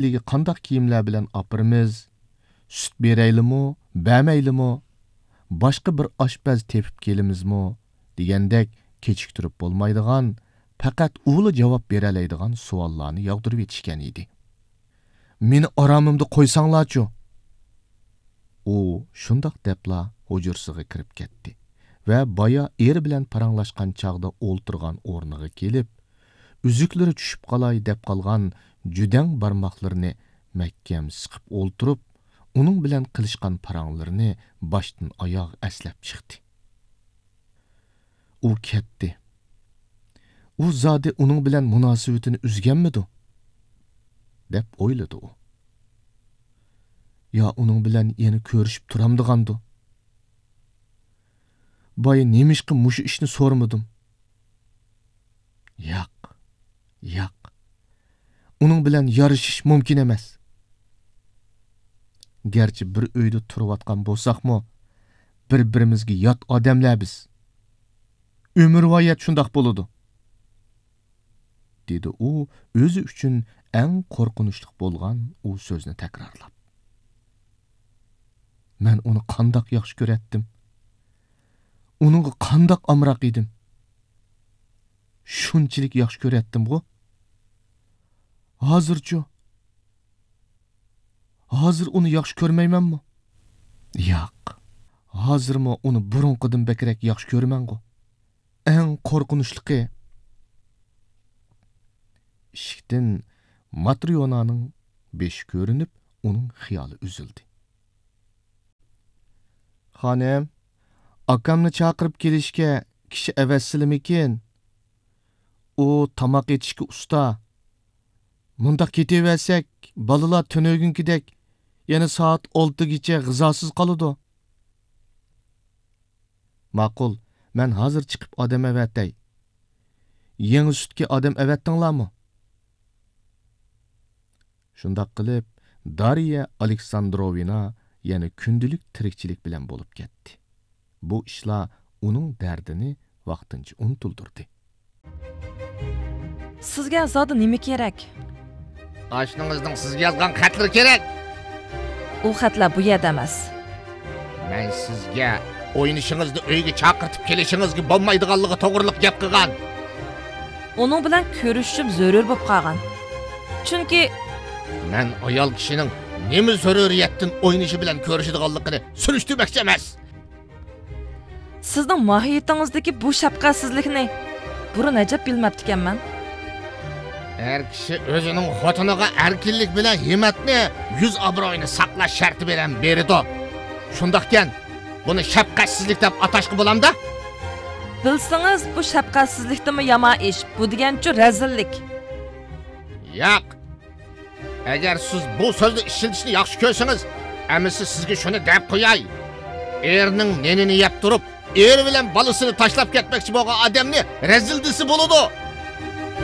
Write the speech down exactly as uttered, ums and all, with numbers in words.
ئىلىگە قانداق كىيىملەر بىلەن ئاپىرىمىز؟ سۈت بېرەيلىمۇ، بەرمەيلىمۇ؟ باشقا بىر ئاشپەز تېپىپ كېلىمىزمۇ؟ دېگەندەك كېچىكتۈرۈپ بولمايدىغان، پەقەت ئۇلا جاۋاب بېرەلەيدىغان سوئاللارنى ياغدۇرۇۋېتىشكەن ئىدى. مېنى ئارامىمدا قويساڭلارچۇ؟ ئۇ شۇنداق دەپلا ھۇجرىسىغا كىرىپ كەتتى ۋە بايا ئېرى بىلەن پاراڭلاشقان چاغدا ئولتۇرغان ئورنىغا كېلىپ، ئۈزۈكلىرى چۈشۈپ قالاي دەپ قالغان جۈدەڭ بارماقلىرىنى مەھكەم سىقىپ ئولتۇرۇپ، ئۇنىڭ بىلەن قىلىشقان پاراڭلىرىنى باشتىن ئاياغ ئەسلەپ چىقتى. ئۇ كەتتى. ئۇ زادى ئۇنىڭ بىلەن مۇناسىۋىتىنى ئۈزگەنمىدۇ؟ دەپ ئويلىدى ئۇ. يا ئۇنىڭ بىلەن يەنە كۆرۈشۈپ تۇرامدىغاندۇ؟ بايا نېمىشقا مۇشۇ ئىشنى سورىمىدىم؟ ياق، ياق. ئۇنىڭ بىلەن يارىشىش مۇمكىن ئەمەس. گەرچە بىر ئۆيدە تۇرۇۋاتقان بولساقمۇ، بىر-بىرىمىزگە يات ئادەملەر بىز. ئۆمۈرۋايەت شۇنداق بولىدۇ، دېدى ئۇ ئۆزى ئۈچۈن ئەڭ قورقۇنچلۇق بولغان ئۇ سۆزنى تەكرارلاپ. مەن ئۇنى قانداق ياخشى كۆرەتتىم؟ ئۇنىڭغا قانداق ئامراق ئىدىم؟ شۇنچىلىك ياخشى كۆرەتتىمغۇ؟ ھازىرچۇ؟ ھازىر ئۇنى ياخشى كۆرمەيمەنمۇ؟ ياق. ھازىرمۇ ئۇنى بۇرۇنقىدىن بەكرەك ياخشى كۆرىمەنغۇ. ئەڭ قورقۇنچلۇقى. ئىشىكتىن ماتريونانىڭ بېشى كۆرۈنۈپ، ئۇنىڭ خىيالى ئۈزۈلدى. خانىم، ئاكامنى چاقىرىپ كېلىشكە كىشى ئەۋەتسىلىمىكىن؟ ئۇ تاماق ئېتىشكە ئۇستا. مۇنداق كېتىۋەرسەك، بالىلار تۈنۈگۈنكىدەك يەنە سائەت ئالتىگىچە غىزاسىز قالىدۇ. ماقۇل، مەن ھازىر چىقىپ ئادەم ئەۋەتەي. يېڭى سۈتكە ئادەم ئەۋەتتىڭلارمۇ؟ شۇنداق قىلىپ، دارىيە ئالېكساندروۋنا يەنە كۈندىلىك تىرىكچىلىك بىلەن بولۇپ كەتتى. بۇ ئىشلار ئۇنىڭ دەردىنى ۋاقتىنچە ئۇنتۇلدۇردى. سىزگە زادى نېمە كېرەك؟ ئاشنىڭىزنىڭ سىزگە يازغان خەتلىرى كېرەك. ئۇ خەتلەر بۇ يەردە ئەمەس. مەن سىزگە ئوينىشىڭىزنى ئۆيگە چاقىرتىپ كېلىشىڭىزگە بولمايدىغانلىقى توغرىلىق گەپ قىلغان. ئۇنىڭ بىلەن كۆرۈشۈشۈم زۆرۈر بولۇپ قالغان. چۈنكى مەن ئايال كىشىنىڭ نېمە زۆرۈرىيەتتىن ئوينىشى بىلەن كۆرۈشىدىغانلىقىنى سۈرۈشتۈرمەكچى ئەمەس. سىزنىڭ ماھىيىتىڭىزدىكى بۇ شەپقەتسىزلىكنى بۇرۇن ئەجەب بىلمەپتىكەنمەن. ئەر كىشى ئۆزىنىڭ خوتۇنىغا ئەركىنلىك بىلەن ھىممەتنى، يۈز ئابرۇيىنى ساقلاش شەرتى بىلەن بېرىدۇ. شۇنداقكەن، بۇنى شەپقەتسىزلىك دەپ ئاتاشقا بولامدا؟ بىلسىڭىز، بۇ شەپقەتسىزلىكتىنمۇ يامان ئىش، بۇ دېگەنچۇ رەزىللىك. ياق. ئەگەر سىز بۇ سۆزنى ئىشلىتىشنى ياخشى كۆرسىڭىز، ئەمىسە سىزگە شۇنى دەپ قوياي. ئېرىنىڭ نېنىنى يەپ تۇرۇپ، ئېرى بىلەن بالىسىنى تاشلاپ كەتمەكچى بولغان ئادەمنى رەزىل دېسە بولىدۇ.